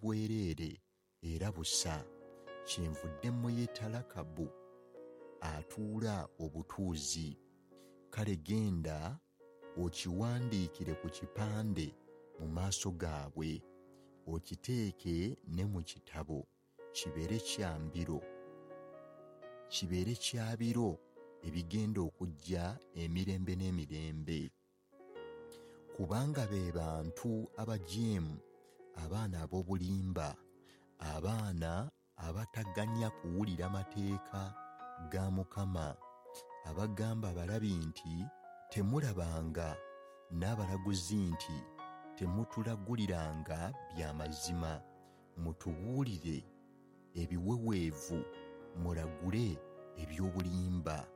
bwereere era busa. Kyenvudde muyita Lakabu atuula obutuuzi. Kale genda okiwandiikire ku kipande mu maaso gaabwe, okiteeke ne mu kitabo, kibeere kya mbiro, kibeere kya biro ebigenda okujja emirembe n'emirembe. Kubanga be bantu abajeemu, abaana ab'obulimba, abaana abataganya kuwulira mateeka ga Mukama, abagamba abalabi nti temulabanga, n'abalaguzi nti temutulaguliranga bya mazima, mutubuulire ebiweweevu, mulagule eby'obulimba.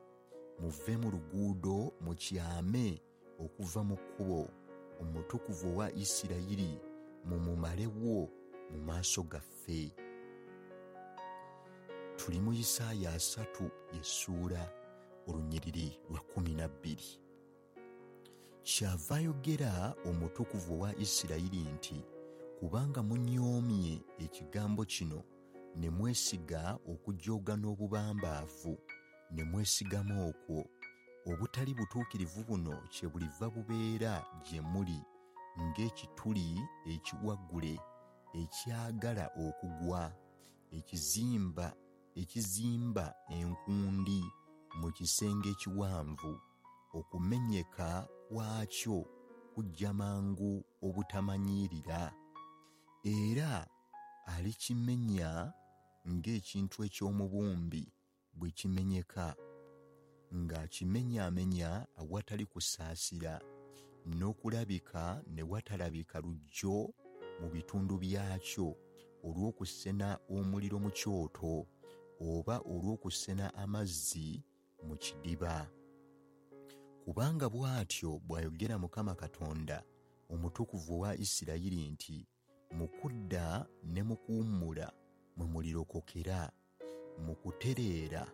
Muve mu luguudo mukyame okuva mu kkubo, Omutukuvu owa Isirayiri mumumalewo mu maaso gaffe. Tuli mu Isaaya 3 y'essuula olunyiriri lwa 12. Kyava ayogera Omutukuvu owa Isirayiri nti, kubanga munyoomye ekigambo kino ne mwesiga okujooga n'obubambaavu, ne mwesigama okwo, obutali butuukirivu buno kyebuliva bubeera gye muli ng'ekituli ekiwaggule ekyagala okugwa, ekizimba enkundi mu kisenge ekiwanvu, okumenyeka kwakyo kujja mangu obutamanyirira. Era alikimenya ng'ekintu eky'omubumbi bwe kimenyeka, ng'akimenyaamenya awatali kusaasira, n'okulabika ne watalabika luggyo mu bitundu byakyo olw'okusena omuliro mu kyoto oba olw'okusena amazzi mu kidiba. Kubanga bw'atyo bw'ayogera Mukama Katonda, Omutukuvu owa Isirayiri nti, mu kudda ne mu kuwummula mwe mulirokokera, mu kutereera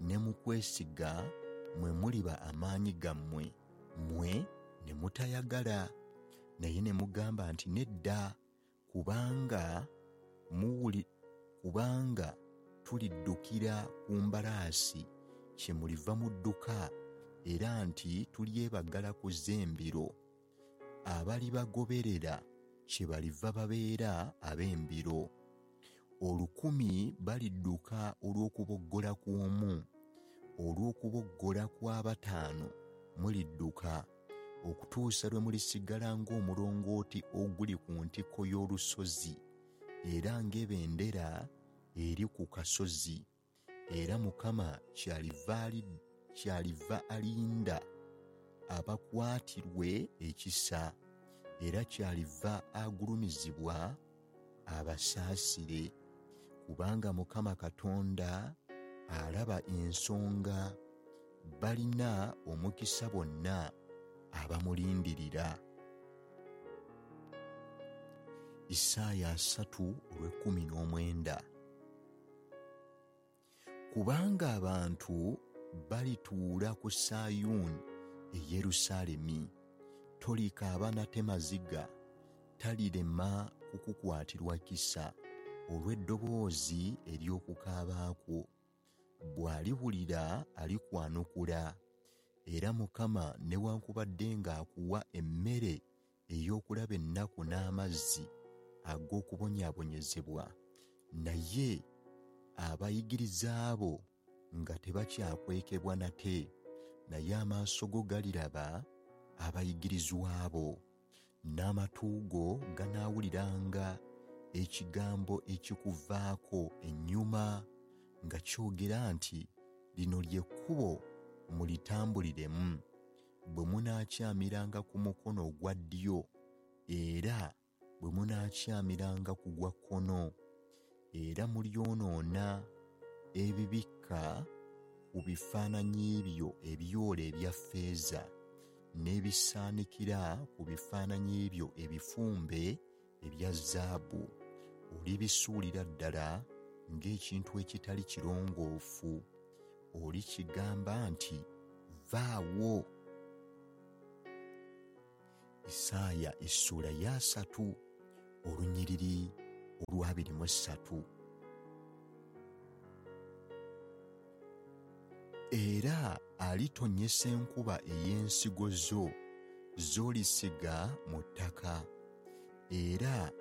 ne mu kwesiga mwe muliba amaanyi gammwe, mmwe ne mutayagala. Naye ne mugamba nti nedda, kubanga tuliddukira ku mbalaasi, kyemuliva mudduka, era nti tulyebagala ku z'embiro. Abalibagoberera kyebaliva babeera ab'embiro. 1,000 balidduka olw'okuboggola kw'omu, olw'okuboggola kw'abataano mulidduka, okutuusa lwe mulisigala ng'omulongooti oguli ku ntikko y'olusozi, era ng'ebendera eri ku kasozi. Era Mukama kyaliva alinda abakwatirwe ekisa, era kyaliva agulumizibwa abasaasire. Kubanga Mukama Katonda alaba ensonga, balina omukisa bonna abamulindirira. Isaaya 3:19. Kubanga abantu balituula ku Sayuuni e Yerusaalemi, tolikaaba nate maziga, talirema kukukwatirwa kisa olw'eddoboozi ery'okukaaba kwo. Bw'aliwulira alikwanukula, era Mukama newankubadde ng'akuwa emmere ey'okulaba ennaku n'amazzi ag'okubonyaabonyezebwa, naye abayigiriza bo nga tebakyakwekebwa nate, naye amaaso go galiraba abayigirizwa bo, n'amatu go ganaawuliranga ekigambo ekikuvaako ennyuma nga kyogera nti, lino lye kkubo mulitambuliremu, bwe munaakyamiranga ku mukono ogwa ddyo era bwe munaakyamiranga ku gwa kkono, era mulyonoona ebibikka ku bifaananyi byo ebyole ebya ffeeza n'ebisaanikira ku bifaananyi byo ebifumbe ebya zaabu. Olibisuulira ddala ng'ekintu ekitali kirongoofu. Olikigamba nti, vaawo. Isaaya 3:19. Olwabiri mu ssatu. Era alitonnyesa enkuba ey'ensigo zo z'olisiga mu ttaka, era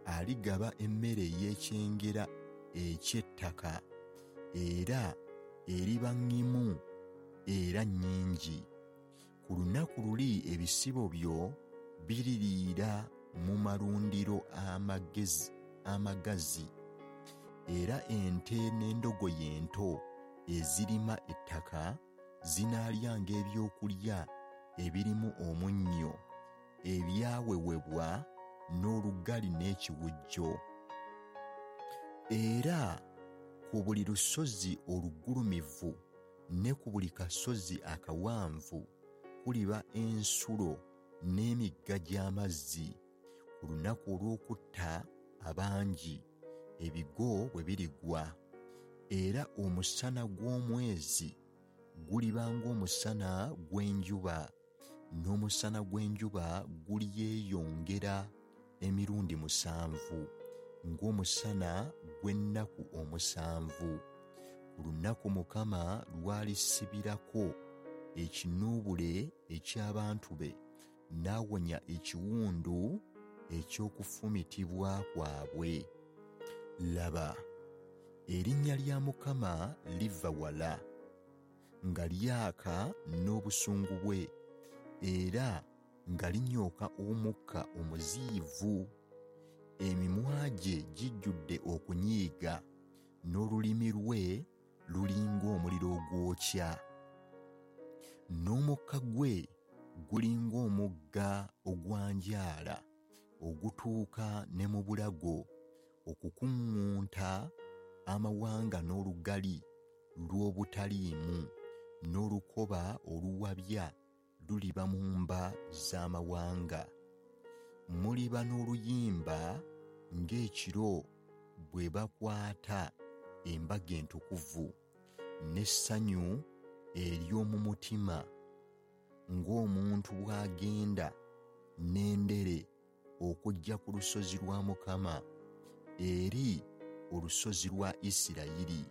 aligaba emmere ey'ekyengera eky'ettaka, era eriba ŋŋimu era nnyingi. Ku lunaku luli ebisibo byo biririira mu malundiro amagazi, era ente n'endogoyi ento ezirima ettaka zinaalyanga ebyokulya ebirimu omunnyo ebyawewebwa n'olugali n'ekiwujjo. Era ku buli lusozi olugulumivu ne ku buli kasozi akawanvu kuliba ensulo n'emigga gy'amazzi, ku lunaku olw'okutta abangi ebigo bwe birigwa. Era omusana gw'omwezi guliba ng'omusana gw'enjuba, n'omusana gw'enjuba gulyeyongera emirundi 7 ng'omusana gw'ennaku 7, ku lunaku Mukama lw'alisibirako ekinuubule eky'abantu be, n'awonya ekiwundu eky'okufumitibwa kwabwe. Laba, erinnya lya Mukama liva wala, nga lyaka n'obusungu bwe, era nga linyooka omukka omuziyivu. Emimwa gye gijjudde okunyiiga, n'olulimi lwe lulinga omuliro ogwokya, n'omukka gwe gulinga omugga ogwanjaala ogutuuka ne mu bulago, okukuŋŋunta amawanga n'olugali lw'obutaliimu, n'olukoba oluwabya luliba mu mba z'amawanga. Muliba n'oluyimba ng'ekiro bwe bakwata embaga entukuvu, n'essanyu ery'omu mutima ng'omuntu bw'agenda n'endere okujja ku lusozi lwa Mukama, eri olusozi lwa Isirayiri.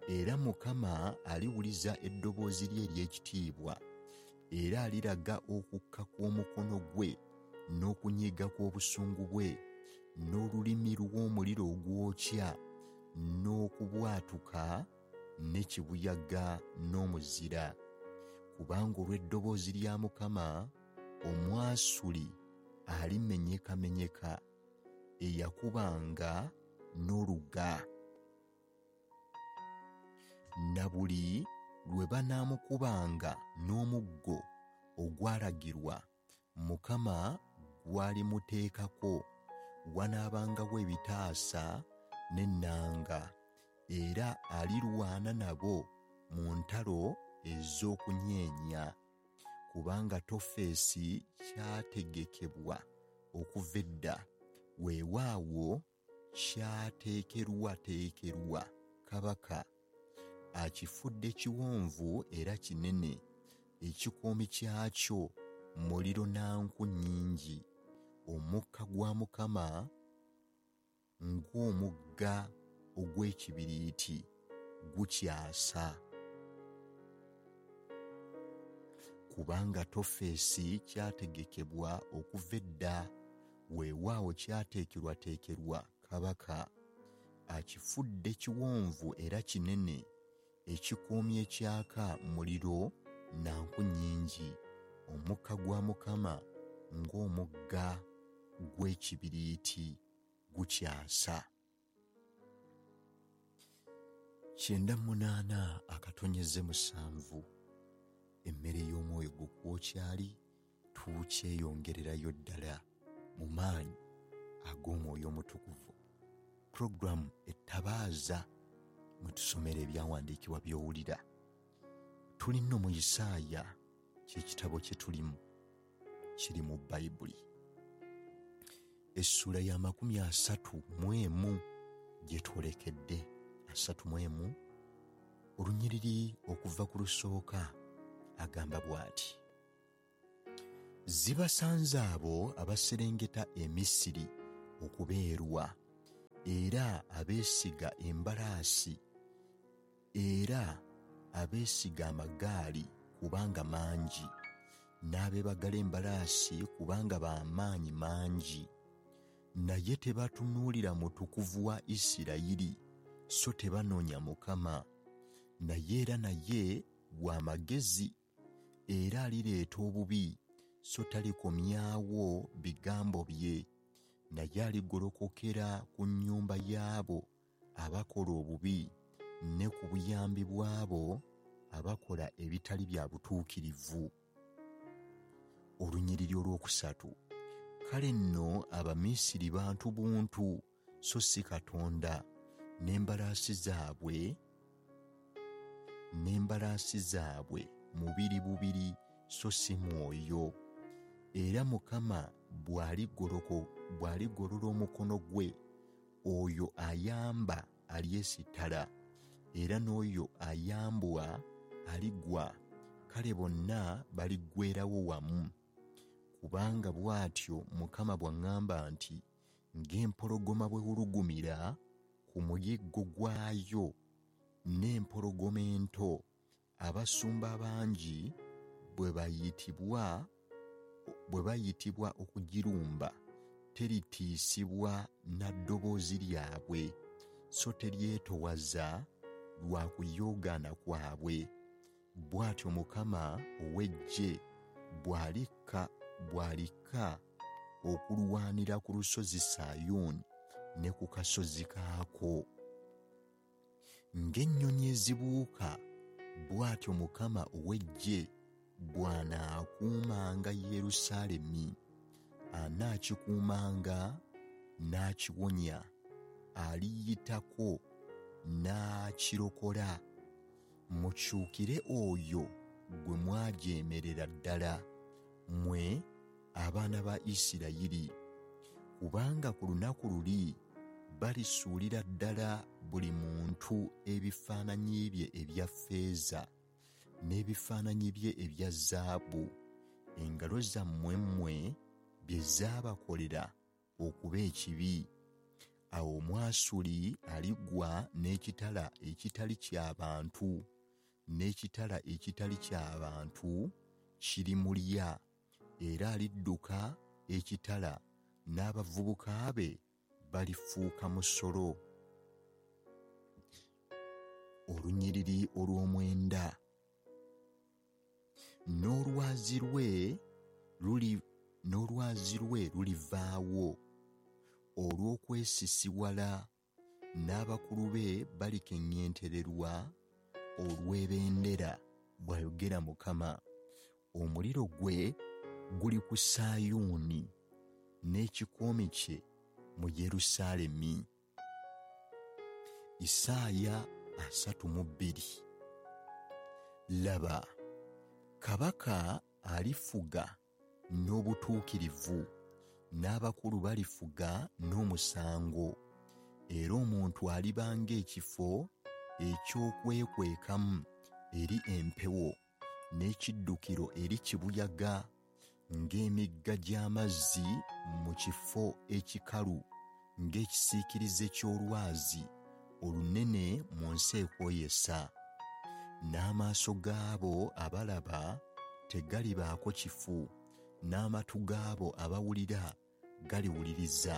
Era Mukama aliwuliza eddoboozi lye ery'ekitiibwa, era aliraga okukka kw'omukono gwe n'okunyiiga kw'obusungu bwe, n'olulimi lw'omuliro ogwokya, n'okubwatuka ne kibuyaga n'omuzira. Kubanga olw'eddoboozi lya Mukama Omwasuli alimenyekamenyeka, eyakubanga n'oluga. Na buli lwe banaamukubanga n'omuggo ogwalagirwa Mukama gw'alimuteekako, wanaabangawo ebitaasa n'ennanga, era alirwana nabo mu ntalo ez'okunyeenya. Kubanga Tofesi kyategekebwa okuva edda, weewaawo kyateekerwateekerwa kabaka, akifudde kiwonvu era kinene, ekikoomi kyakyo muliro na nku nnyingi, omukka gwa Mukama ng'omugga ogw'ekibiriiti gukyasa. Kubanga Tofesi kyategekebwa okuva edda, weewaawo kyateekerwateekerwa kabaka, akifudde kiwonvu era kinene, ekikoomi ekyaka muliro na nku nnyingi, omukka gwa Mukama ng'omugga gw'ekibiriiti gukyasa. 98.7 Emmere y'omwoyo gwo kwokyali, tukyeyongererayo ddala mu maanyi ag'Omwoyo Omutukuvu. Puroguramu ettabaaza mwe tusomera ebyawandiikibwa by'owulira. Tuli nno mu Isaaya, ky'ekitabo kye tulimu, kiri mu Bayibuli. Essuula ya 31 gye twolekedde, 31, olunyiriri okuva ku lusooka agamba bw'ati: Zibasanze abo abaserengeta e Misiri okubeerwa, Era abeesiga embalaasi, era abeesiga amagaali kubanga mangi, n'abeebagala embalaasi kubanga b'amaanyi mangi. Naye tebatunuulira Mutukuvu wa Isirayiri, so tebanoonya Mukama. Naye era naye wa magezi, era alireeta obubi, so talikomyawo bigambo bye. Naye aligolokokera ku nnyumba y'abo abakola obubi, ne ku buyambi bw'abo abakola ebitali bya butuukirivu. Olunyiriri olwokusatu. Kale nno Abamisiri bantu buntu, so si Katonda, n'embalaasi zaabwe mubiri bubiri, so si mwoyo. Era Mukama bw'aligolola omukono gwe, oyo ayamba alyesittala, era n'oyo ayambwa aligwa, kale bonna baliggweerawo wamu. Kubanga bw'atyo Mukama bw'aŋŋamba nti, ng'empologoma bw'ewulugumira ku muyiggo gwayo, n'empologoma ento, abasumba abangi bwe bayitibwa okugirumba, teritiisibwa na ddoboozi lyabwe, so teryetowaza lwa kuyoogaana kwabwe. Bw'atyo Mukama ow'eggye bw'alikka okulwanira ku lusozi Sayuuni ne ku kasozi kaako. Ng'ennyonyi ezibuuka, bw'atyo Mukama ow'eggye bw'anaakuumanga Yerusaalemi, anaakikuumanga n'akiwonya, aliyitako n'akirokola. Mukyukire oyo gwe mwajeemerera ddala, mmwe abaana ba Isirayiri, kubanga ku lunaku luli balisuulira ddala buli muntu ebifaananyi bye ebya ffeeza n'ebifaananyi bye ebya zaabu, engalo zammwe mmwe bye zaabakolera okuba ekibi. Awo Omwasuli aligwa n'ekitala ekitali ky'abantu, n'ekitala ekitali ky'abantu kirimulya, era alidduka ekitala, n'abavubuka be balifuuka musolo. Olunyiriri olw'omwenda. N'olwazi lwe lulivaawo olw'okwesisiwala, n'abakulu be balikeŋŋentererwa olw'ebendera, bw'ayogera Mukama. Omuliro gwe guli ku Sayuuni, n'ekikoomi kye mu Yerusaalemi. Isaaya 32. Laba, kabaka alifuga n'obutuukirivu, n'abakulu balifuga n'omusango, era omuntu aliba ng'ekifo eky'okwekwekamu eri empewo, n'ekiddukiro eri kibuyaga, ng'emigga gy'amazzi mu kifo ekikalu, ng'ekisiikirize ky'olwazi olunene mu nsi ekwoyesa. N'amaaso gaabo abalaba tegalibaako kifu, n'amatu gaabo abawulira galiwuliriza.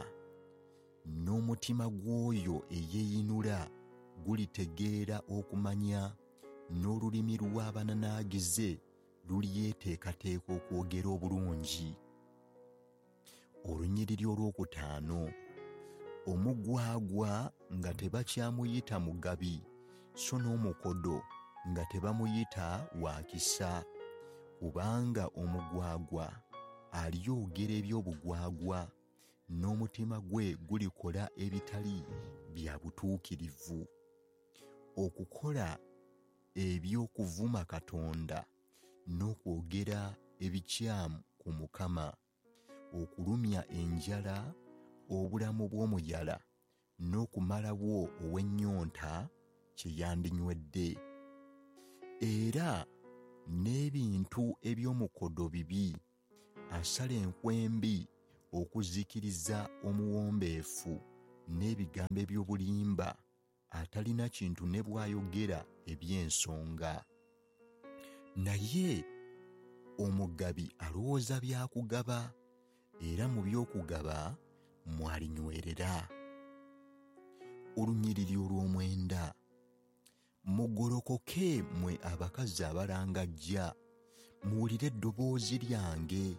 N'omutima gw'oyo eyeeyinula gulitegeera okumanya, n'olulimi lw'abananaagize lulyeteekateeka okwogera obulungi. Olunyiriri olwokutaano. Omugwagwa nga tebakyamuyita mugabi, so n'omukodo nga tebamuyita wa kisa, kubanga omugwagwa alyogera eby'obugwagwa, n'omutima gwe gulikola ebitali bya butuukirivu. Okukola eby'okuvuma Katonda n'okwogera ebikyamu ku Mukama, okulumya enjala obulamu bw'omuyala n'okumalawo ow'ennyonta kye yandinywedde. Era n'ebintu eby'omukodo bibi, asala enkwembi okuzikiriza omuwombeefu n'ebigambo eby'obulimba, atalina kintu ne bw'ayogera eby'ensonga. Naye omugabi alowooza byakugaba, era mu by'okugaba mwalinywerera. Olunyiriri olw'omwenda. Mugolokoke mmwe abakazi abalangajja, muwulire eddoboozi lyange,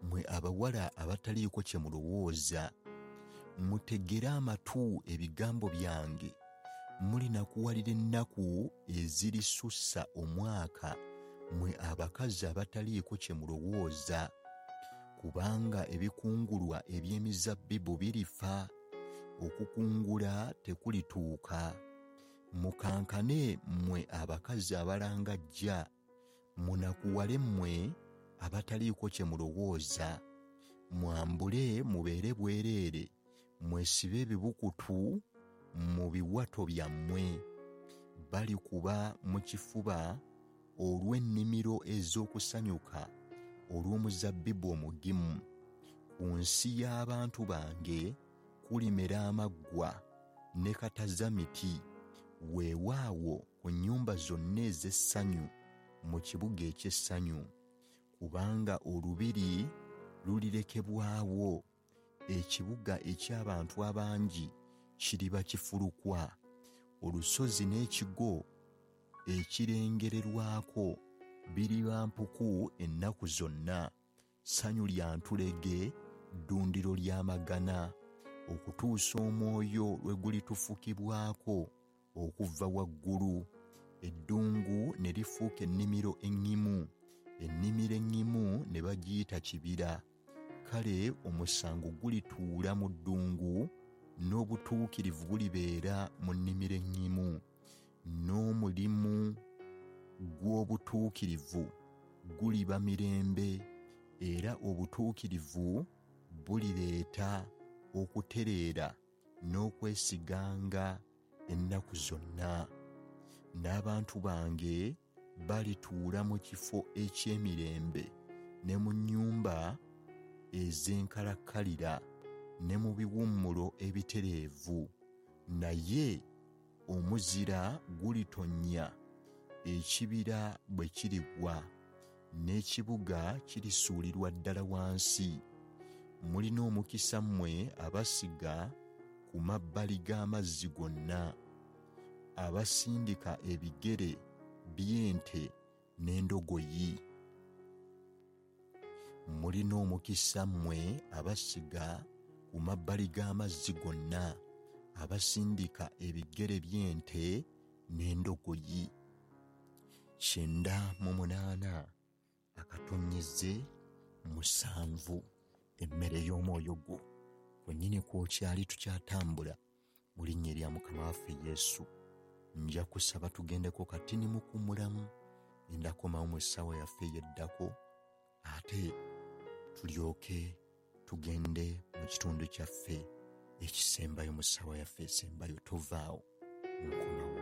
mmwe abawala abataliiko kye mulowooza. Mutegere amatu ebigambo byange, mulinakuwalira ennaku ezirisussa omwaka, mmwe abakazi abataliiko kye mulowooza. Kubanga ebikungulwa eby'emizabbibu birifa, okukungula tekulituuka. Mukankane mmwe abakazi abalangajja, munakuwale mmwe abataliiko kye mulowooza. Mwambule mubeere bwereere, mwesibe ebibukutu mu biwato byammwe. Balikuba mu kifuba olw'ennimiro ez'okusanyuka olw'omuzabbibu omugimu. Ku nsi y'abantu bange kulimera amaggwa ne katazamiti, weewaawo ku nnyumba zonna ez'essanyu mu kibuga eky'essanyu. Kubanga olubiri lulirekebwawo, ekibuga eky'abantu abangi kiriba kifulukwa. Olusozi n'ekigo ekirengererwako biriba mpuku ennaku zonna, ssanyu lya ntulege, ddundiro ly'amagana, okutuusa omwoyo lwe gulitufukibwako okuva waggulu, eddungu ne lifuuka ennimiro eŋŋimu, ennimiro eŋŋimu ne bagiyita kibira. Kale omusango gulituula mu ddungu, n'obutuukirivu bulibeera mu nnimiro eŋŋimu, n'omulimu gw'obutuukirivu guliba mirembe, era obutuukirivu bulireeta okutereera n'okwesiganga ennaku zonna. N'abantu bange balituula mu kifo eky'emirembe, ne mu nnyumba ez'enkalakkalira, ne mu biwummulo ebitereevu. Naye omuzira gulitonnya ekibira bwe kirigwa, n'ekibuga kirisuulirwa ddala wansi. Mulina omukisa mmwe abasiga ku mabbali g'amazzi gonna, abasindika ebigere by'ente n'endogoyi. Mulina omukisa mmwe abasiga ku mabbali g'amazzi gonna, abasindika ebigere by'ente n'endogoyi. 98.7 emmere y'omwoyo gwo kwennyini kwokyali tukyatambula mu linnya erya Mukama waffe Yesu. Nja kusaba tugendeko katini mukummulamu, endakomawo mu ssaawa yaffe eyeddako, ate tulyoke tugende mu kitundu kyaffe ekisembayo mu ssaawa yaffe esembayo. Tovaawo, nkomawo.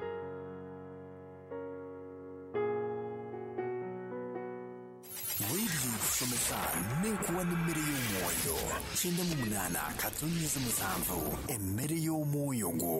Radio kusomesa n'ekuwa n'emmere y'omwoyo 98.7 emmere y'omwoyo gwo.